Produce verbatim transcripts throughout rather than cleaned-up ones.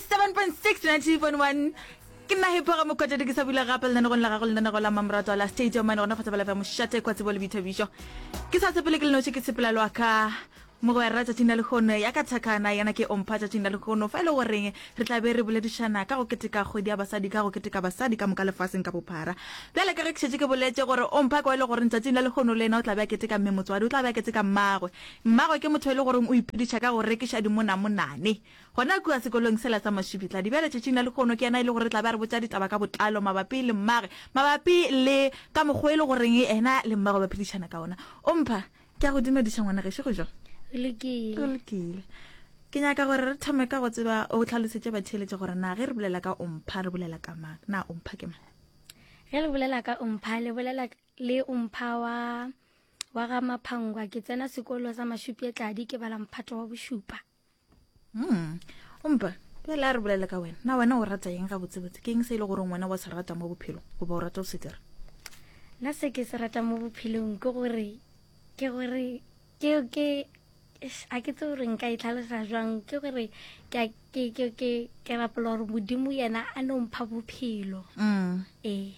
Eighty-seven point six, ninety point one. Ke nna Hipho ga Mokgotedi ke sa bula gape lenanegong la gago lenanego la mmamoratwa la State of Mind gona fa Thobela F M mošate kwa tsebo le boithabišo. Ke sa sepele ke le noši ke sepela le wa ka mogwera tšatšing la lehono ya ka thakana yena ke ompha tšatšing la lehono fa e le goreng re tla be re boledišana ka go keteka kgwedi ya basadi ka go keteka basadi ka moka lefaseng ka bophara. Bjale ka ge ke šetše ke boletše gore ompha ke wa e le goreng tšatšing la lehono le yena o tla be a keteka mme motswadi o tla be a keteka mmagwe. Mmagwe ke motho e le goreng o iphediša ka go rekiša dimonamonane gona kua sekolong sela sa Mashupitla. Bjale tšatšing la lehono ke yena e le gore tla be a re botša ditaba ka botlalo mabapi le mmagwe, mabapi le ka mokgwa e le goreng yena le mmagwe ba phedišana ka ona. Ompha, ke a go dumediša ngwana gešo, go jwang? Go lokile. Go lokile. Ke nyaka gore re thome ka go tseba o tlhalosetše batheeletše gore na ge re bolela ka Ompha re bolela ka mang? Na Ompha ke mang? Ge re bolela ka Ompha le bolela le Ompha wa wa ga Maphangwa. Ke tsena sekolo sa Mashupjetladi, ke bala mphato wa bošupa. Mm. Ompha, bjale a re bolele ka wena. Na wena o rata eng gabotsebotse? Ke eng se e le gore wena wa se rata mo bophelong goba o rata o se dira? Nna se ke se rata mo bophelong ke gore ke gore ke ke a ke tsebe gore nka e tlhalosa jwang, ke gore ke a, ke, ke, ke, ke rapela gore Modimo yena a no mpha bophelo. Mm. Ee.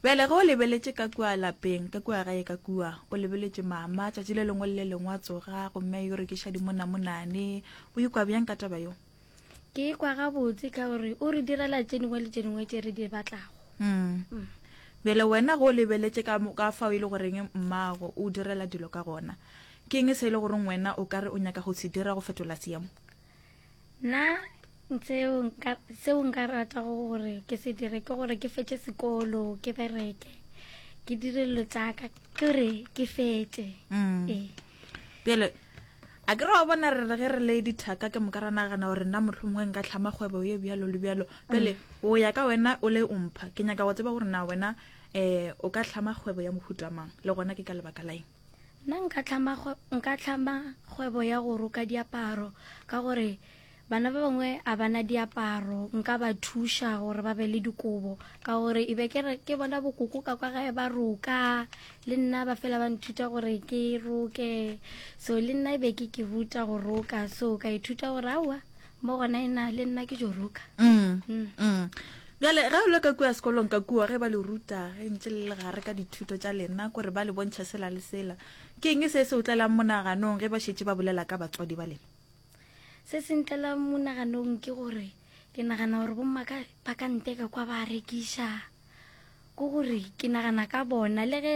Bjale ge o lebeletše ka kua lapeng, ka kua gae ka kua, o lebeletše mama tšatši le lengwe le le lengwe a tsoga gomme a yo rekiša dimonamonane, o ikwa bjang ka taba yeo? Ke ikwa gabotse ka gore o re direla tše dingwe le tše dingwe tše re di batlago. Mm. Mm. Bjale wena ge o lebeletše ka mo, ka fao e le goreng mmago o direla dilo ka gona, ke eng se e le goreng wena o ka re o nyaka go se dira go fetola seemo? Nna seo nka, seo nka ratago gore ke se dire ke gore ke fetše sekolo, ke bereke, ke dire dilo tša ka, ke gore ke fetše. Mm. Ee. Bjale a ke re wa bona re re ge re le dithaka ke moka ra nagana gore nna mohlomongwe nka hlama kgwebo ye bjalo le bjalo. Bjale o ya ka wena o le Ompha, ke nyaka go tseba gore na wena um o ka hlama kgwebo ya mohuta mang, le gona ke ka lebaka la eng? Nna nka hlama kgwe-, nka hlama kgwebo ya go roka diaparo ka gore bana ba bangwe a bana diaparo, nka ba thuša gore ba be le dikobo ka gore e be ke re ke bona bokoko ka kwa gae ba roka, le nna ba fela ba nthuta gore ke roke, so le nna e be ke ke ruta go roka, so ka ithuta gore aowa mo gona ena le nna ke jo roka. Mm. Mm. Mm. Bjale ge o le ka kua sekolong ka kua ge ba le ruta ge ntše le le gare ka dithuto tša lena kore ba le bontšha sela le sela, ke eng se se o tlelang monaganong ge ba šetše ba bolela ka batswadi ba lena? Se se ntlelang monaganong ke gore ke nagana gore bomma ka, ba ka nteka kwa ba rekiša, ke gore ke nagana ka bona le ge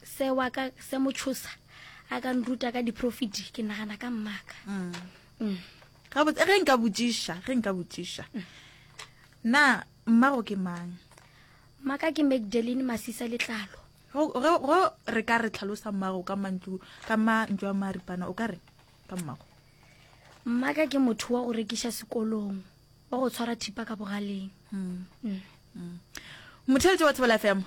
se wa ka se mo tshosa a ka nruta ka di-profit, ke nagana ka mmaka. Mm. Mm. Gabotse ge nka botšiša, ge nka botšiša na mmago ke mang? Mmaka ke Magdalene Masisa Letlalo. Go, go, go re ka re tlhalosa mmago ka mantšu, ka mantšu a maripana, o ka re ka mmago? Mmaka ke motho wa go rekiša sekolong, wa go tshwara thipa ka bogaleng. Mm. Mm. Mm. Motheletši wa Thobela F M,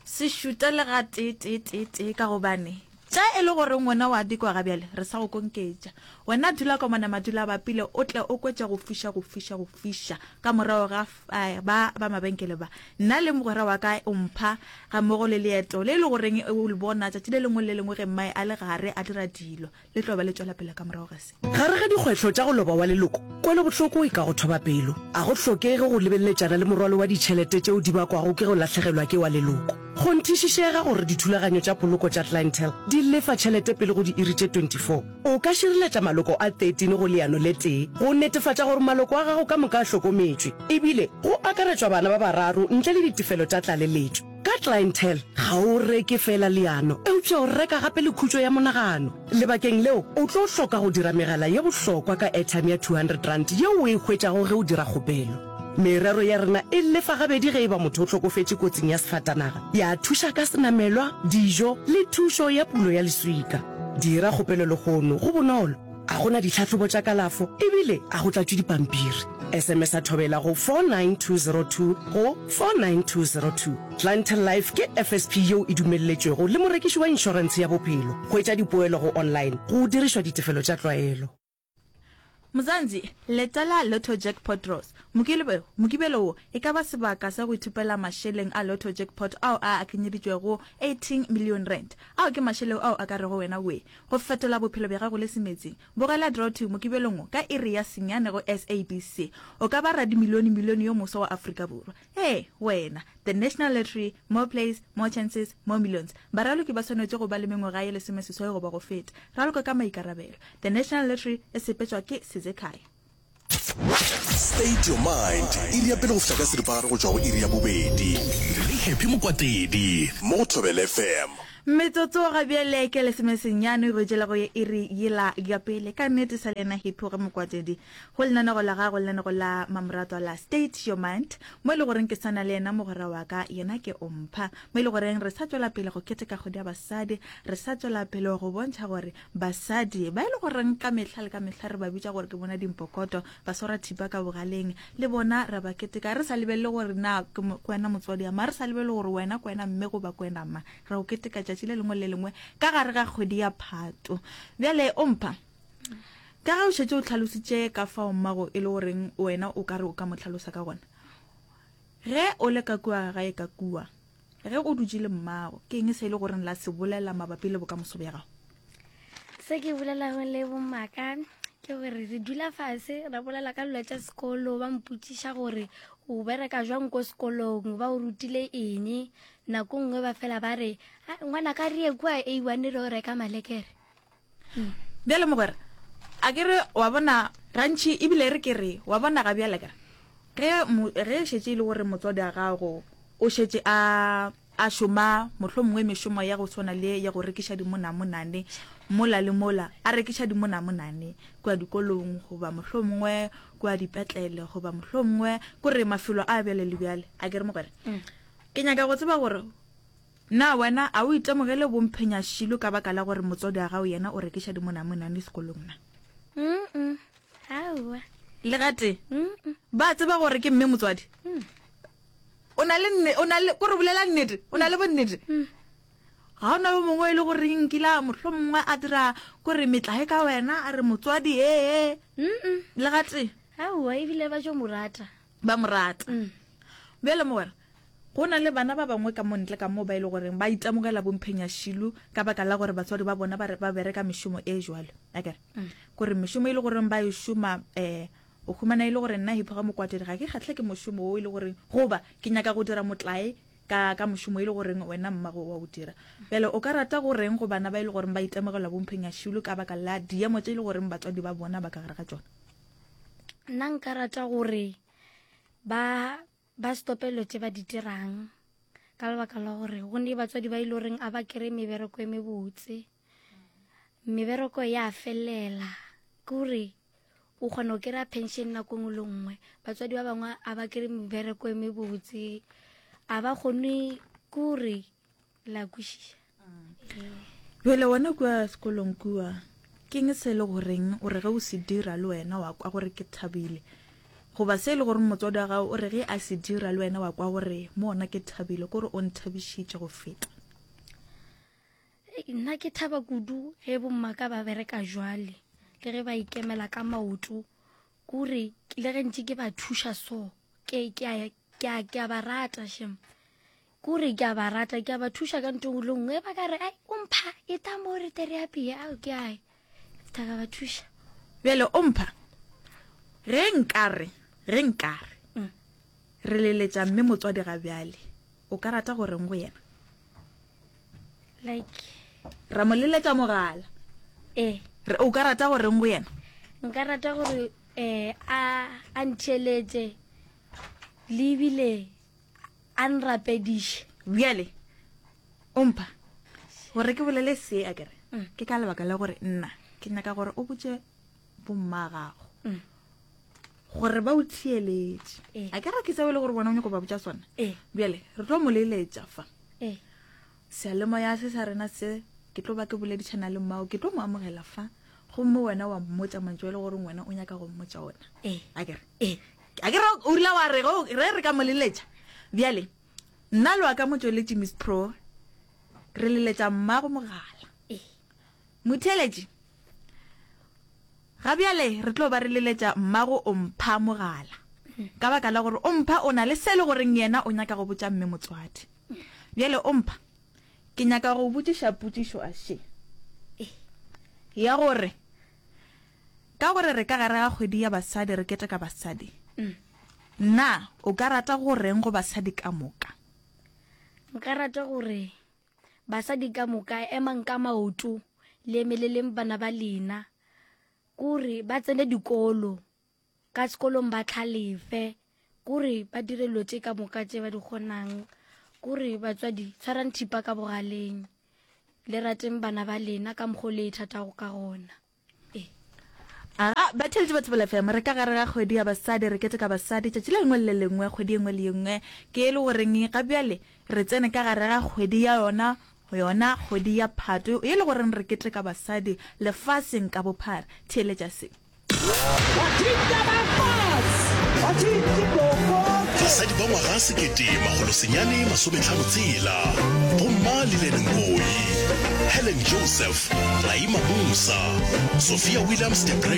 se šuta le ga tee, tee, tee, tee, ka gobane tša e le gore ngwana wa dikwa ga bjale re sa go konketša. Wena dula ka mona madula a bapile, o tle o kwetše go fiša, go fiša, go fiša ka morago ga f-, eh, ba, ba mabenkele ba. Nna le mogwera wa ka o mpha ga mmogo le leeto le le goreng o le bona tšatši le lengwe le le lengwe ge mmae a le gare a dira dilo, le tlo ba le tšwela pele ka morago ga se. Gare ga dikgwetlho tša go loba wa leloko, kwelobohloko e ka go thoba pelo. A go hlokege go lebeletšana le morwalo wa ditšhelete tšeo di bakwago ke go lahlegelwa ke wa leloko. Kgonthišišega gore dithulaganyo tša poloko tša Clientele di lefa tšhelete pele go diiri tše twenty-four. O ka šireletša maloko a thirteen go leano le tee go netefatša gore maloko a gago ka moka a hlokometšwe, ebile go akaretšwa bana ba bararo ntle le ditefelo tša tlaleletšo. Ka Clientele ga o reke fela leano, eupša o reka gape le khutšo ya monagano. Lebakeng leo, o tlo hloka go dira megala ye bohlokwa ka airtime ya two hundred rand yeo o e hwetšago ge o dira kgopelo. Merero ya rena e lefa gabedi ge e ba motho o hlokofetše kotsing ya sefatanaga, ya thuša ka senamelwa, dijo le thušo ya pulo ya leswika. Dira kgopelo lehono, go bonolo, a go na ditlhahlobo tša kalafo ebile a go tlatšwe dipampiri. S M S a thobela go four nine two zero two go four nine two zero two. Clientele Life ke F S P yeo e dumelletšwego le morekiši wa inšorentshe ya bophelo. Hwetša dipoelo go online go dirišwa ditefelo tša tlwaelo. Mzansi, letela Lotto Jackpot Draws. Mokibelo, Mokibelo wo e ka ba sebaka sa go ithupela mašeleng a Lotto Jackpot ao a akanyeditšwego eighteen million rand. Ao ke mašeleng ao a ka rego wena wee go fetola bophelo bja gago le semetsing. Bogela Draw Two Mokibelong wo ka iri ya senyane go S A B C. O ka ba radimilione-milione yo moswa wa Afrika Borwa. Ee, wena. The National Lottery, more plays, more chances, more millions. Baraloki ba swanetše go ba le mengwaga ye lesomeseswai goba go feta. Raloka ka maikarabelo. The National Lottery e sepetšwa ke Sizekhaya. State Your Mind, iri ya pele go fihla ka seripagare go tšwa go iri ya bobedi. Le Happy Mokwatedi mo go Thobela F M. Metsotso ga bjale ke lesomesenyane go tšela go ye iri yela ya pele. Ka nnete sa le yena Happy ge Mokwatedi go lenanego la gago, lenanego la mamoratwa la State Your Mind, mo e le goreng ke sana le yena mogwera wa ka, yena ke Ompha, mo e le goreng re sa tšwela pele go keteka kgwedi ya basadi, re sa tšwela pele go bontšha gore basadi ba e le goreng ka mehla le ka mehla re ba bitša gore ke bona dimpokoto, ba swara thipa ka bogaleng, le bona ra ba keteka re sa lebelele gore na ke mo-, ke wena motswadi ya ma, re sa lebelele gore wena ke wena mme goba ke wena ma, ra go keteka tšatši le lengwe le lengwe ka gare ga kgwedi ya Phato. Bjale Ompha, ka ge o šetše o hlalositše ka fao mmago e le goreng wena o ka re o ka mo hlalosa ka gona, ge o le ka kua gae ka kua, ge o dutše le mmago, ke eng se e le goreng la se bolela mabapi le bokamoso bja gago? Se ke bolelago le bommaka ke gore re dula fase ra bolela ka dilo tša sekolo, ba mpotšiša gore o bereka jwang ko sekolong, ba o rutile eng. Nako nngwe ba fela ba re, ah, ngwana ka re ye kua A one re o reka malekere. Bjale mogwera, a ke re wa bona gantši ebile re ke re wa bona ga bjale ka ge mo-, ge šetše e le gore motswadi wa gago o šetše a, a šoma mohlomongwe mešomo ya go swana le ya go rekiša dimonamonane mola le mola, a rekiša dimonamonane kua dikolong goba mohlomongwe kua dipetlele goba mohlomongwe kore mafelo a bjale le bjale, a ke re mogwera? Mm. Ke nyaka go tseba gore na wena a o itemogele bomphenyašilo ka baka la gore motswadi wa gago yena o rekiša dimonamonane sekolong na? Mm-mm. Aowa. Le gate? Mm-mm. Ba tseba gore ke mme motswadi? Mm. O na le nne, o na le, kore bolela nnete, o na le bonnete? Mm. Ga ona yo mongwe e le gore nkile a mohlomongwe a dira kore metlae ka wena a re motswadi ee, ee. Mm-mm. Le gate? Aowa, ebile ba tšo mo rata. Ba mo rata. Mm. Bjale mogwera, go na le bana ba bangwe ka mo ntle ka mo ba e le goreng ba itemogela bomphenyašilo ka baka la gore batswadi ba bona ba re, ba bereka mešomo e jwalo. Akere? Mm. Kore mešomo e le goreng ba e šoma, eh, o humana e le gore nna Hipho ga Mokwatedi ga ke kgahle ke mošomo wo e le goreng, goba ke nyaka go dira motlae ka, ka mošomo e le goreng wena mmago wa o dira. Bjale o ka rata go reng go bana ba e le goreng ba itemogela bomphenyašilo ka baka la diemo tše e le goreng batswadi ba bona ba ka gare ga tšona? Nna nka rata gore ba, ba stope dilo tše ba di dirang ka lebaka la gore go ne batswadi ba e le goreng a ba kry-e mebereko e mebotse, mebereko ya felela, ke gore o kgona go kry-a pension nako nngwe le nngwe. Batswadi ba bangwe a ba kry-e mebereko e mebotse, a ba kgone, ke gore la kwešiša. Bjale wena kua sekolong kua, ke eng se e le goreng o re ge o se dira le wena wa kwa gore ke thabile, goba se e le gore motswadi wa gago o re ge a se dira le wena wa kwa gore mo ona ke thabile, ke gore o nthabišitše go feta? Ei, nna ke thaba kudu ge bommaka ba bereka jwale, le ge ba ikemela ka maoto, ke gore le ge ntše ke ba thuša so, ke, ke a, ke a, ke a ba rata shem. Ke gore ke a ba rata, ke a ba thuša ka ntho e nngwe le nngwe. Ba ka re, ai, o mpha, e ta mo re tle re apeye, ao, ke a e. Tla ka ba thuša. Bjale o mpha, ge nkare, ge nkare, Mm. re leletša mme motswadi ga bjale, o ka rata go reng go yena? Like, Ra mo leletša mogala. Eh. Re, o ka rata go reng go yena? Nka rata gore, eh, a, a ntheeletše, le ebile a nrapediše. Bjale, o mpha, gore ke bolele se a kere, Mm. ke ka lebaka la gore nna ke nyaka gore o botše bomma gago Mm. gore ba o theeletše. Eh. A ke re ke seo e le gore bona o nyako ba botša sona? Eh. Bjale, re tlo mo leletša fa. Eh. Seyalemoya se sa rena se, ke tlo ba ke boledišana le mmao, ke tlo mo amogela fa. Gomme wena wa mmotša mantšu a e le gore wena o nyaka go mmotša ona. Eh. A ke re? Eh. A ke re o rile wa re, go, re re ka mo leletša. Bjale, nna le wa ka motšweletši Miss Pro, re leletša mmago mogala. Eh. Motheeletši, Ga bjale re tlo ba re leletša mmago Ompha mogala. Ka baka la gore Ompha o na le se le goreng yena o nyaka go botša mme motswadi. Bjale Ompha, ke nyaka go botšiša potšišo a še. Ya gore ka gore re ka gare ga kgwedi ya basadi re keteka basadi. Na o ka rata go reng go basadi ka moka? Nka rata gore basadi ka moka emang ka maoto le emeleleng bana ba lena. Kore ba tsene dikolo, ka sekolong ba tlhalefe, kore ba dire dilo tše ka moka tše ba di kgonang. Kore batswadi tshwarang thipa ka bogaleng, le rateng bana ba lena ka mokgwa o le ithatago ka gona. Ee. Aga, batheeletši ba Thobela F M, re ka gare ga kgwedi ya basadi, re keteka basadi tšatši le lengwe le le lengwe, kgwedi ye nngwe le ye nngwe. Ke e le goreng ga bjale re tsene ka gare ga kgwedi ya yona, yona kgwedi ya Phato, e le goreng re keteka basadi lefaseng ka bophara. Theeletša se. Basadi ba ngwaga sekete makgolo senyane masometlhano tshela, Bomma Lillian Ngoyi, Helen Joseph, Raima Moosa, Sophia Williams de Bruyn,